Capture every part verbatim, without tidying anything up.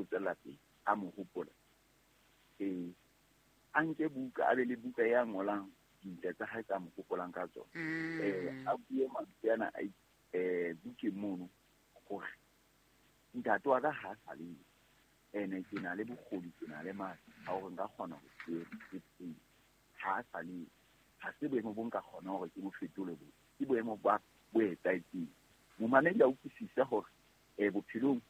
tswella pele a mo hopola eh a nke buka a be le buka ya ngolang dintle tsa hae tsa mo hopolang ka tsona eh a bue mantswe ana a eh bukeng mono hore ntate wa ka ha sa le ene ke na le bokgoni ke na le matla a hore nka kgona ho ke ha sa le ha se boemo bo nka kgona hore ke bo fetole bo ke boemo ba bo etsahetseng. Momamedi a utlwisise hore eh bophelong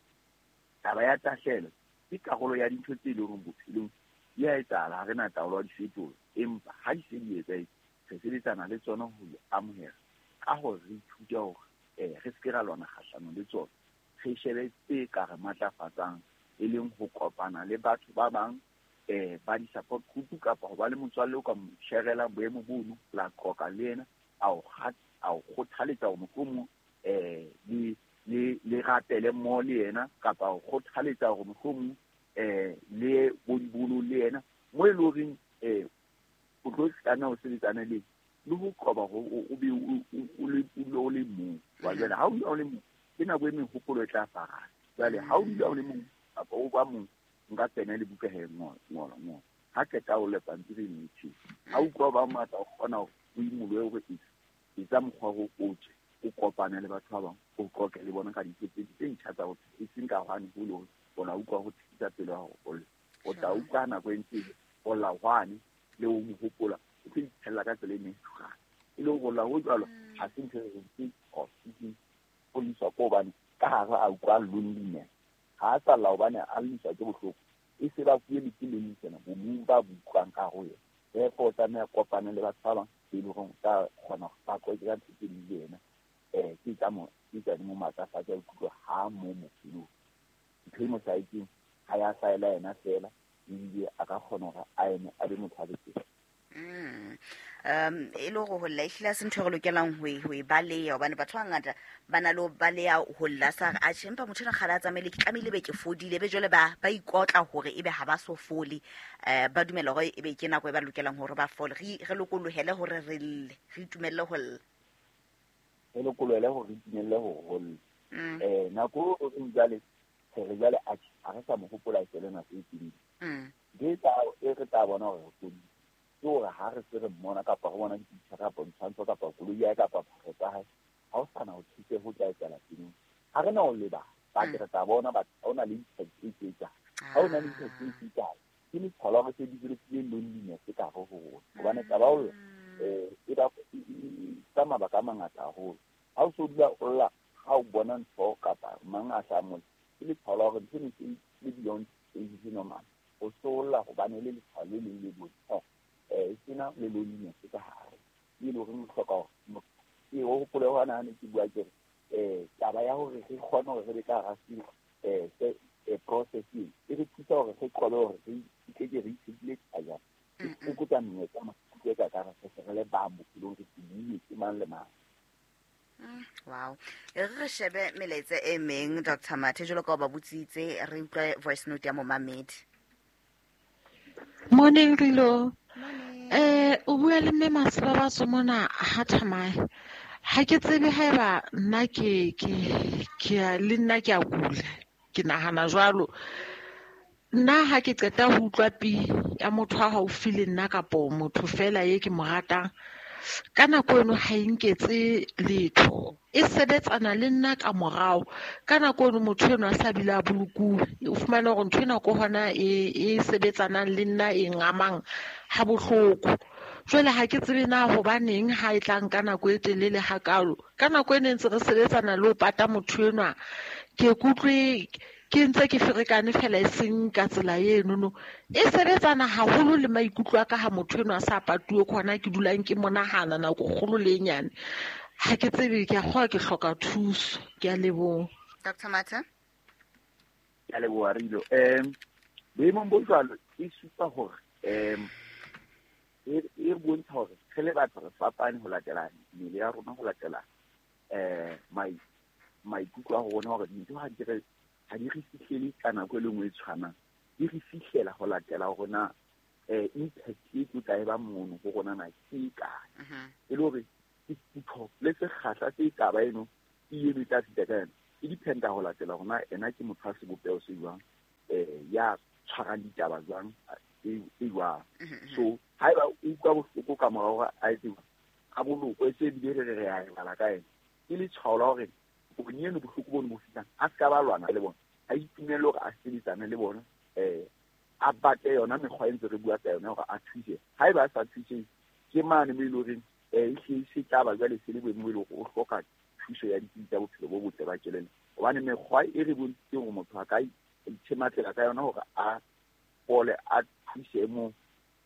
taba ya tahlelo ke karolo ya dintho tse leng hore bophelong di a etsahala, ha re na taolo ya di fetola, empa ha di se di etsahetse re sebetsana le tsona ho di amohela ka hore re ithute hore eh re se ke ra lwana kgahlanong le tsona, re shebe tse ka re matlafatsang e leng ho kopana le batho ba bang eh ba di-support group kapa ho ba le motswalle o ka mo sharela boemo bono la qoqa le yena a o a o kgothaletsa hore mohlomong eh le le le rapele mmoho le yena kapa o kgothaletsa hore mohlomong eh le bo dibolo le yena mo e leng horeng eh o tlo tlameha ho sebetsana le le ho qoba hore o be o le o le mong. Wa jwale ha o dula o le mong ke nako e mehopolo e tla farana. Jwale ha o dula o le mong kapa o ba mong nka tsena le buka he ngola ngola ngola ha qeta o le pampiri e metjhe ha utlwa ba matla o kgona ho imolohe hore etsa mokgwa o o tswe o kopane le batho ba bang o qoqe le bona ka dintho tse tse ntjha tsa botho e seng ka hwane ho le hore o la utlwa ho thisa pelo ya hao o tla utlwa nako e ntse o la hwane le o mo hopola o tlo iphelela ka tsela e natural e le hore la ho jwalo ha se ntho e ke o liswa ko hobane ka hare a utlwa loneliness ha a sa lla hobane a lliswa ke bohloko e se ba fuwe le ke loneliness bomong ba bo utlwang ka ho yena. Therefore o tlameha kopane le batho ba bang e leng hore o tla kgona ho ba qoqe ka ntho tse ding le yena eh ke tsa mo ke tsa di mo matlafatsa ikutlwa ha mo bophelong ntho e mo hlahetseng ha ya hlahela yena feela ebile a ka kgona hore a eme a be motho a betere. Mm. Um e le hore ho lla ehlile ha se ntho e re lokelang ho e ho e baleha hobane batho ba bangata ba na le ho baleha ho lla sa re atjhe empa motho enwa kgale a tsamaile ke tlamehile be ke fodile be jwale ba ba ikotla hore ebe ha ba so fole eh ba dumela hore ebe ke nako e ba lokelang hore ba fole re re lokolohele hore re lle re itumelle ho lla re lokolohele hore re itumelle ho lla eh nako o reng jwale re jwale atjhe ha re sa mo hopola e le nako e telele ke tla e re tla bona hore re fodile ke hore ha re se re mmona kapa re bona dipicture kapa ditshwantsho kapa koloi ya hae kapa phahlo tsa hae ha o sana ho thuse ho tla etsahala pelong ha re na ho lebala ba ke re tla bona batho ha o na le impact e etsang ha o na le impact e etsang ke letshwao la hore se develop-ile loneliness ka hare ho rona hobane taba ya ho lla eh e ba ka mabaka a mangata haholo ha o so dula o lla ha o bona ntho kapa mang a hlaha mona ke letshwao la hore ntho e le beyond age normal o so lla hobane le letshwao le leng le bontsha eh sena le loneliness ka hare e le hore re hloka hore ke o hopole hona ha ne ke bua ke re eh taba ya hore re kgone hore re be ka hara eh se process e e re thusa hore re qobe hore re ke re itshedile tjhajana e fokotsa menyetla maikutlo ka ka re se re le bang bophelong re tsebile ke mang le mang. Wow. E re shebe melaetsa e meng Doctor Mathe jwalo ka o ba botsitse re utlwe voice note ya momamedi. Morning Rilo. Eh o bua le mme Masebabatso mona ha Thamae. Ha ke tsebe haeba nna ke ke ke le nna ke a kula. Ke nahana jwalo. Nna ha ke qeta ho utlwa pi ya motho a haufi le nna kapo motho fela ye ke mo ratang ka nako eno ha e nketse letho e sebetsana le nna ka morao ka nako eno motho eno a sa bile a bolokuwe o fumana hore ntho ena ko hona e e sebetsanang le nna e ngamang ha bohloko jwale ha ke tsebe na hobaneng ha e tlang ka nako e telele hakalo ka nako e ne ntse re sebetsana le ho pata motho enwa ke kutlwe ke ntse ke ferekane fela e seng ka tsela eno no e sebetsana haholo le maikutlo a ka ha motho enwa a sa patuwe ke hona ke dulang ke monahana nako kgolo le e nyane ha ke tsebe ke a kgowa ke hloka thuso ke a leboha. Doctor Mathe ke a leboha Rilo. Um boemong bo jwalo e supa hore um e bontsha hore re le batho re fapane ho latela mmele ya rona ho latela eh maikutlo a rona hore dintho ha di re ha di re fihlele ka nako e le nngwe e tshwanang di re fihlela ho latela hore na eh impact e tlo tla e ba mono ho rona na ke e kae e le hore sefutho le sekgahla se taba eno e eno e tla fihla ka yona e dependa ho latela hore na ena ke motho a sebopeho se jwang eh ya tshwarang ditaba jwang e jwang. So haeba o utlwa bohloko ka mora hore a etse a bolokwe, se ebile re re re a lebala ka ena, ke letshwao la hore bonyane bohloko bono bo fihlang, a se ka ba lwana le bona, a itumelle hore a sebetsane le bona, um a batle yona mekgwa e ntse re bua ka yona hore a thuse. Haeba a sa thuse, ke mane mo e le horeng um e se tla ba jwale se le boemo bo e le hore o hloka thuso ya ditsebi tsa bophelo bo botle ba kelello. Hobane mekgwa e re bontshitseng hore motho a ka ithematlela ka yona hore a fole, a thuse moo,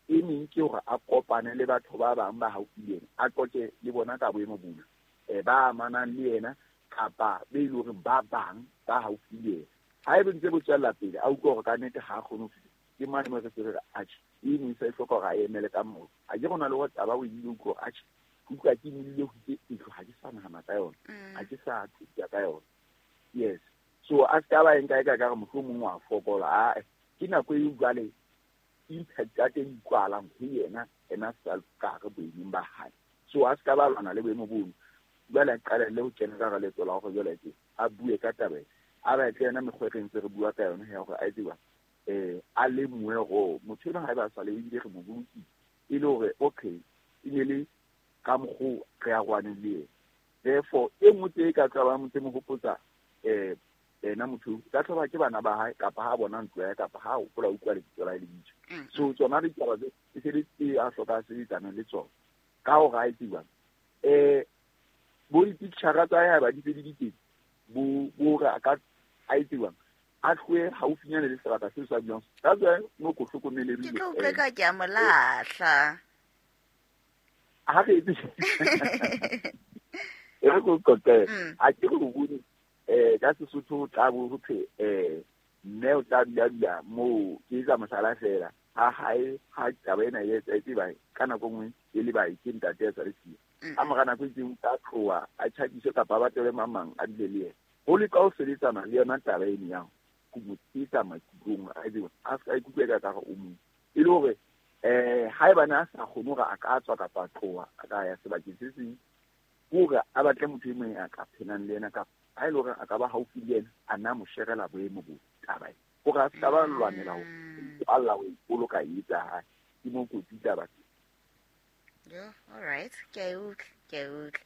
e meng ke hore a kopane le batho ba bang ba haufi le yena, a qoqe le bona ka boemo bona, um ba amanang le yena kapa be e le horeng ba bang ba haufi le yena. Haeba ntse bo tswella pele, a utlwa hore ka nnete ha a kgone ho fihla, ke mane mo re se re re atjhe, e neng se hloka hore a emele ka moo. A ke rona le hore taba o ile utlwa hore atjhe, ke utlwa ke imile ho itse ntlo, ha ke sa nahana ka yona, ha ke sa thusa ka yona. Yes. So a se ka ba e nka e ka re mohlomong wa fokola, ae, ke nako eo jwale impact ya teng e utlwahalang ho yena, ena self ka hare boemong ba hae. So a se ka ba lwana le boemo bono. Jwale a qalelle ho kena ka hara leeto la hore jwale ke a bue ka taba ena, a batle yona mekgwa e re ntse re bua ka yona ya hore a etse jwang, um a lemohe hore motho enwa haeba a sa le ebile re mo bolokile, e le hore okay, e ne le ka mokgo re arohaneng le yena. Therefore, e nngwe tse e ka tlohang tse mo hopotsa um ena motho, ka tloba ke bana ba hae kapa ha bona ntlo ya hae kapa ha hopola utlwa lebitso la hae le bitswa. So tsona ditaba tse e se le tse a hloka a sebetsana le tsona ka hore a etse jwang. Um bo dipicture tsa hae haeba di se di le teng, bo bo hore a ka a etse jwang, a tlohe haufinyane le sebaka seo sa dulang. That's why no ko hlokomele Ke tlo utlwa ka ke a mo lahla. Ha re etse e re ko qoqele, a ke re o bone eh ka Sesotho tla bo ho thwe eh mme o tla dula dula moo, ke etsa mohlala fela, ha hae ha taba ena e etsahetse ba ka nako nngwe e le ba ke ntate a sa le siyo. Ka mora nako e itseng o tla tloha a tjhakiswe kapa a batlele mang mang a dule le yena. Ho leka ho sebetsana le yona taba eno ya ho mo tshehetsa maikutlong, a etse a se ka ikutlwa eka ekare o mong, e le hore eh haebane a sa kgone hore a ka tswa kapa a tloha a ka ya sebakeng se seng, hore a batle motho e mong a ka phelang le yena kapa ha e le hore a ka ba haufi le yena, a nna mo sherela boemo bo taba ena, hore a se ka ba lwanela ho kwalla ho ipoloka e etsa hae. Ke mo kotsi taba tse. Yeah, all right. Ke a utlwa, ke a utlwa.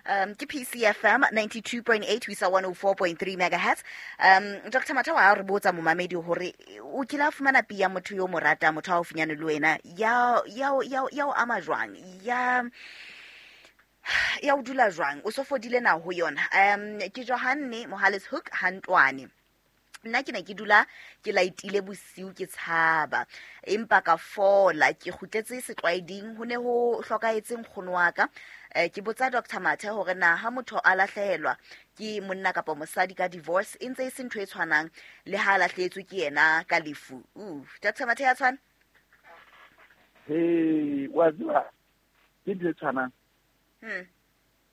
Um, ke P C F M ninety-two point eight ho isa one oh four point three megahertz. Um, Doctor Mathe wa re botsa momamedi hore o kile a fumana pia motho yo mo ratang, motho a haufinyane le wena, ya ya ya ya o ama jwang? Ya ya o dula jwang? O so fodile na ho yona? Um, ke Johanne Mohales Hook Hantwane. Nna ke ne ke dula ke laitile bosiu ke tshaba, empa ka fola, ke kgutletse setlwaeding, ho ne ho hlokahetse nkgono wa ka. Eh, ke botsa Doctor Mathe hore na ha motho a lahlehelwa ke monna kapa mosadi ka divorce, e ntse e se ntho e tshwanang le ha a lahlehetswe ke yena ka lefu. Uh, Doctor Mathe ya tshwana? Hey, wa tseba ke ntho e tshwanang. Hmm.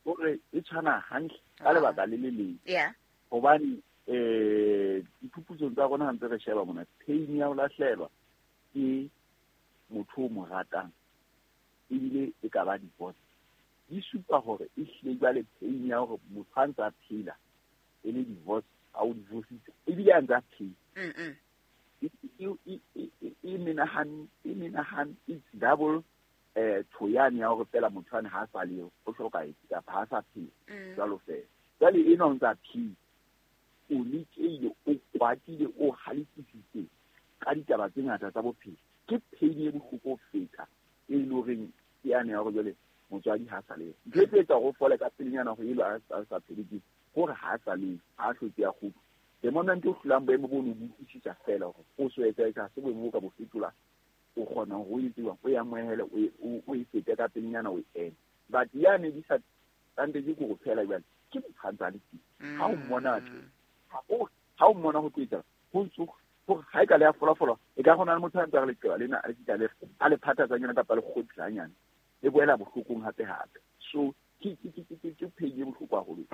Hore e tshwana hantle ka lebaka le le leng. Yeah. Hobane eh diphuputsong tsa rona ha ntse re sheba mona, pain ya ho lahlehelwa ke motho o mo ratang ebile e ka ba divorce, di supa hore e hlile jwale pain ya hore motho ha ntse a phela e le divorce, a o divorcitse ebile a ntse a phela. Mm-mm. E, e, e, e menahan, e menahan, it's double eh thoyane ya hore fela motho ane ha sa le o hlokahetse kapa ha sa phela jwalo fela. Jwale ena o ntse a phela, o lekile, o kwatile, o halefisitse ka ditaba tse ngata tsa bophelo. Ke pain e bohloko ho feta e le horeng ke yane ya hore jwale motswadi ha sa le. Ntho e tlo etsa hore o fole ka pelenyana hore elo a sa phele ke hore ha sa le, ha hlotse ya kgutla. The moment o hlolang boemo bono, bo utlwisisa fela hore o so etsa etsa se boemo bo ka bo fetola, o kgona hore o etse jwang, o e amohele, o e, o e fete ka pelenyana, o e eme. But yane di sa tante ke hore phela jwale ke motho a ntse a le teng. Ha o mmona tje, ha o, ha o mmona ho tlo etsa, ho ntso hore ha e ka le ya folafola, e ka kgona le motho a ntse a re leqeba lena, a le fihla le, a le phathatsa nyana kapa le kgotlha hanyane, e boela bohlokong hape hape. So ke, ke, ke, ke, ke pain e bohloko haholo.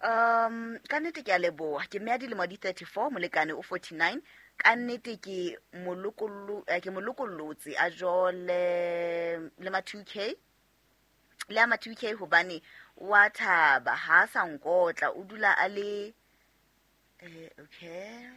Um, ka nnete ke a leboha. Ke mme a dilemo di thirty-four, molekane o forty-nine. Ka nnete ke molokollo, eh, ke molokollotse a jole le ma two K. Le a ma two K hobane wa thaba, ha sa nkotla, o dula a le, eh, okay.